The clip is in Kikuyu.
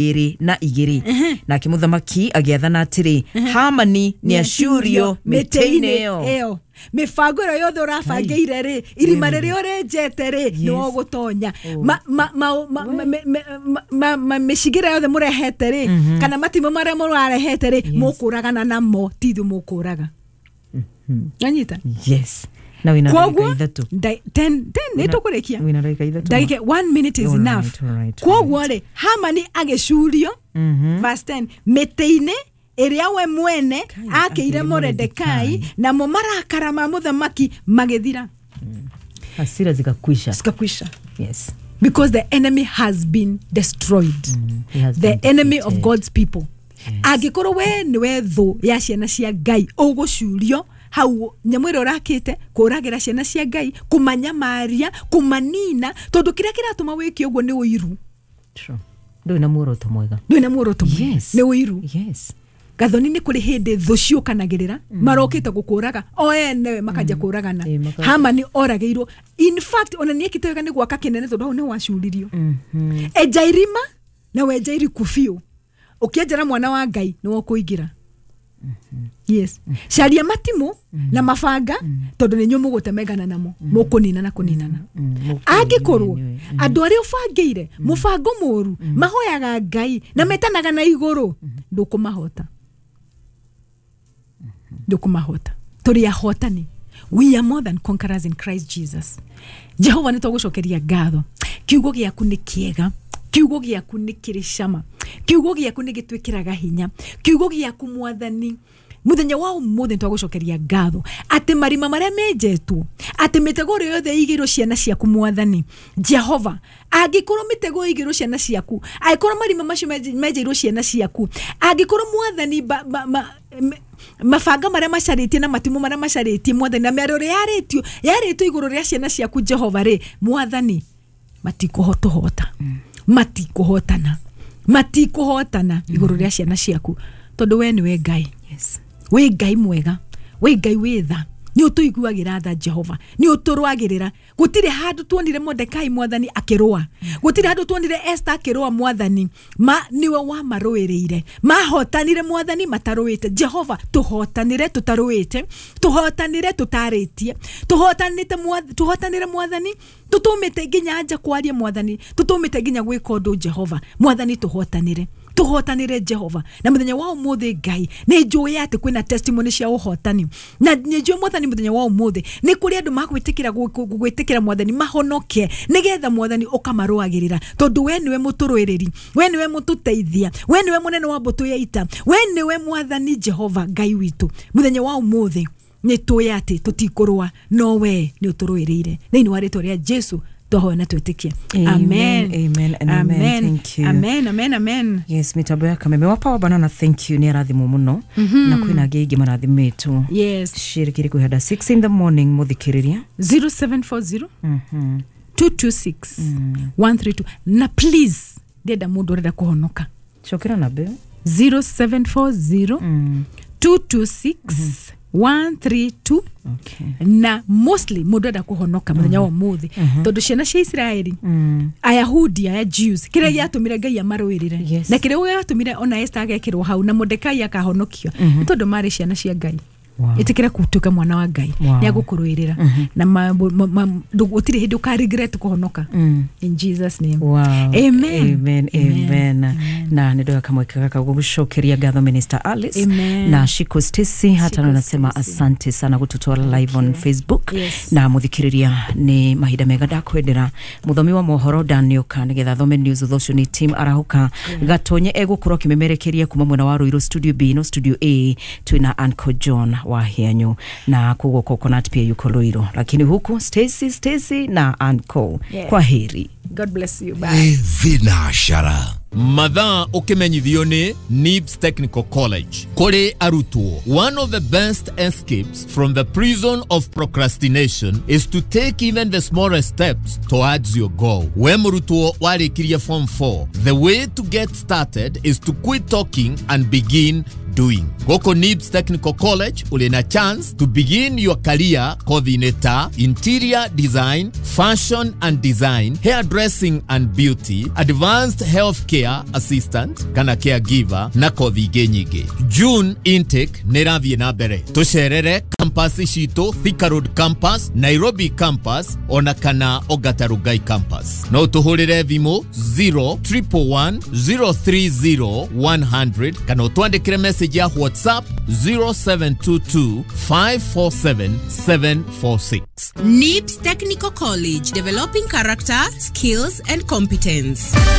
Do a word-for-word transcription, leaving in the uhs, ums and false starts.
Ĩrĩ na igĩrĩ. Nake mũthamaki agĩathana atĩrĩ, Hamani nĩ acurio mĩtĩ-inĩ ĩyo. Ĩyo mĩbango ĩyo yothe ũrabangĩire rĩ, irima rĩrĩa ũrenjete rĩ, nĩ ũgũtonya. Ma- ma- ma- ma- ma- me- me- ma- ma- mĩcigĩra yothe mũrehete rĩ, kana matimũ marĩa mũrarehete rĩ, mũkũragana namo, ti ithuĩ mũkũraga. Anyita? Yes, na wĩna ndagĩka Koguo ithatũ. nda- ten ten nĩ tũkũrĩkia. Wĩna ndagĩka ithatũ. Ndagĩka one minute is All enough. right, all right, Koguo rĩ, Hamani agĩcurio, verse ten, mĩtĩ-inĩ ĩrĩa we mwene akĩire akĩire. Moredekai, namo marakara ma mũthamaki magĩthira. Hasira zikakwisha. Zikakwisha. Yes because the enemy has been destroyed. He has The been enemy of defeated. God's people. Angĩkorwo we nĩwe thũ ya ciana cia Ngai, ũgũcurio hau nyamũ ĩrĩa ũrakĩte kũragĩra ciana cia Ngai, kũmanyamaria, kũmanina, tondũ kĩrĩa kĩratũma wĩke ũguo nĩ ũiru. True. Ndũrĩ na muoroto mwega. Ndũrĩ na muoroto mwega. Yes. Nĩ ũiru. Yes gathoni, nĩ kũrĩ hĩndĩ thũ ciũkanagĩrĩra, marokĩte gũkũraga o enewe, makanja kũragana. Ĩ, maka- Hamani oragĩirwo. In fact, ona nĩ ekĩte wega nĩ gwaka kĩnene, tondũ hau nĩ wacuririo. Enja irima na wenja iriku biũ, ũkĩenjera mwana wa Ngai nĩ wokũingĩra. Yes, caria matimũ na mabanga, tondũ nĩ inyuĩ mũgũtemengana namo, mũkũninana kũninana. Angĩkorwo andũ arĩa ũbangĩire mũbango mũru mahoyaga Ngai na metanaga na igũrũ, ndũkũmahota, ndũkũmahota. Tũrĩ ahotani. We are more than conquerors in Christ Jesus. Jehova, nĩ tũgũcokeria ngatho. Kiugo gĩaku nĩ kĩega, kiugo gĩaku nĩ kĩrĩ cama, kiugo gĩaku nĩ gĩtwĩkĩraga hinya, kiugo gĩaku, Mwathani. Muthenya wa umuthi twagũcokeria ngatho atĩ marima marĩa menjetwo, atĩ mĩtego ĩrĩa yothe ĩigĩirwo ciana ciaku, Mwathani Jehova, angĩkorwo mĩtego ĩigĩirwo ciana ciaku, angĩkorwo marima macio menje- menjeirwo ciana ciaku, angĩkorwo, Mwathani, ba, ba, ma, me- mabanga marĩa macarĩtie na matimũ marĩa macarĩtie, Mwathani, na mĩario ĩrĩa yarĩtio yarĩtio igũrũ rĩa ciana ciaku, Jehova rĩ, Mwathani, matikũhotũhota, matikũhotana, matikũhotana igũrũ rĩa ciana ciaku, tondũ we nĩwe Ngai. Yes. Wĩ Ngai mwega, wĩ Ngai wĩ tha, nĩ ũtũiguagĩra tha. Jehova, nĩ ũtũrũagĩrĩra. Gũtirĩ handũ tuonire Mordekai, Mwathani, akĩrũa. Gũtirĩ handũ tuonire Esther akĩrũa. Mwathani, ma nĩwe wamarũĩrĩire, mahotanire, Mwathani, matarũĩte. Jehova, tũhotanĩre tũtarũĩte, tũhotanĩre tũtarĩtie, tũhotanĩte Mwath- tũhotanĩre, Mwathani, tũtũmĩte nginya nja kwaria, Mwathani, tũtũmĩte nginya gwĩka ũndũ. Jehova Mwathani, tũhotanĩre, tũhotanĩre, Jehova. Na mũthenya wa ũmũthĩ, Ngai, nĩ njũĩ atĩ kwĩna testimony cia ũhotani, na nĩ njũĩ, Mwathani, mũthenya wa ũmũthĩ nĩ kũrĩ andũ magwĩtĩkĩra gwĩtĩkĩra, Mwathani, mahonoke, nĩgetha, Mwathani, ũkamarũagĩrĩra, tondũ we nĩwe mũtũrũĩrĩri, we nĩwe mũtũteithia, we nĩwe mũnene wa mbũtũ ya ita, we nĩwe Mwathani Jehova Ngai witũ. Mũthenya wa ũmũthĩ nĩ tũĩ atĩ tũtikũrũa, no we nĩ ũtũrũĩrĩire. Thĩinĩ wa rĩtwa rĩa Jesu twahoya na twĩtĩkie. Amen, amen and amen. Thank you. Amen, amen, amen. Yes, mitambo ya Kameme wa Power Banana, thank you, nĩ arathimwo mũno, na kwĩna angĩ aingĩ marathimĩtwo. Yes. Shirikiri kwĩhanda six in the morning, mũthikĩrĩria. zero seven four zero two two six one three two. Na please, ndĩrenda mũndũ ũrenda kũhonoka. Cokera namba ĩyo. zero seven four zero two two six one three two. Okay. Na mostly mũndũ enda kũhonoka mũthenya wa ũmũthĩ, tondũ ciana cia Isiraeli, Ayahudi aya, Jews, kĩrĩa gĩatũmire Ngai amarũĩrĩre Yes. na kĩrĩa gĩatũmire ona Esther agekĩrwo hau na Mordekai akahonokio nĩ tondũ marĩ ciana cia Ngai. Wow. Ĩtĩkĩra gũtuĩka mwana wa Ngai, Wow. nĩ agũkũrũĩrĩra na ma- ma- ma- ndũ- gũtirĩ hĩndĩ ũka regret kũhonoka. In Jesus' name. Wow. Amen. Amen. Amen. Na nä ndoya kamweke gaka gucokeria ngatho Minister Alice Amen. na Shiko Stacy hata Shiko nasema Stacy. Asante sana gututwara live on Facebook. Yes. Na muthikiriria, ni mahinda mega ndakwendera muthomi wa mohoro Daniel nigetha thome news. Thutha ũcio nĩ team Arahuka Gatonye egũkorwo akĩmemerekeria kuma mwena wa Ruiru studio B, no studio A twina Uncle John wa Hianyu, na koguo Coconut pia yuko Ruiru, lakini huku Stacy Stacy na Uncle. Yeah. Kwa heri. God bless you. Bye. Thinashara. Mathaa ũkĩmenyithio nĩ Nibs Technical College kũrĩ arutwo. One of the best escapes from the prison of procrastination is to take even the smallest steps towards your goal. We mũrutwo warĩkirie form four, the way to get started is to quit talking and begin. doing. Gũkũ NIBS Technical College ũrĩ na chance to begin your career kothi-inĩ ta interior design, fashion and design, hairdressing and beauty, advanced healthcare assistant kana caregiver na kothi ingĩ nyingĩ. June intake nĩ ĩrathiĩ na mbere. Tũcerere campus citũ, Thika Road campus, Nairobi campus ona kana Ongata Rongai campus. No tũhũrĩre thimũ zero triple one zero three zero one hundred kana ũtwandĩkĩre message ya WhatsApp zero seven two two five four seven seven four six. NIBS Technical College, developing character, skills, and competence.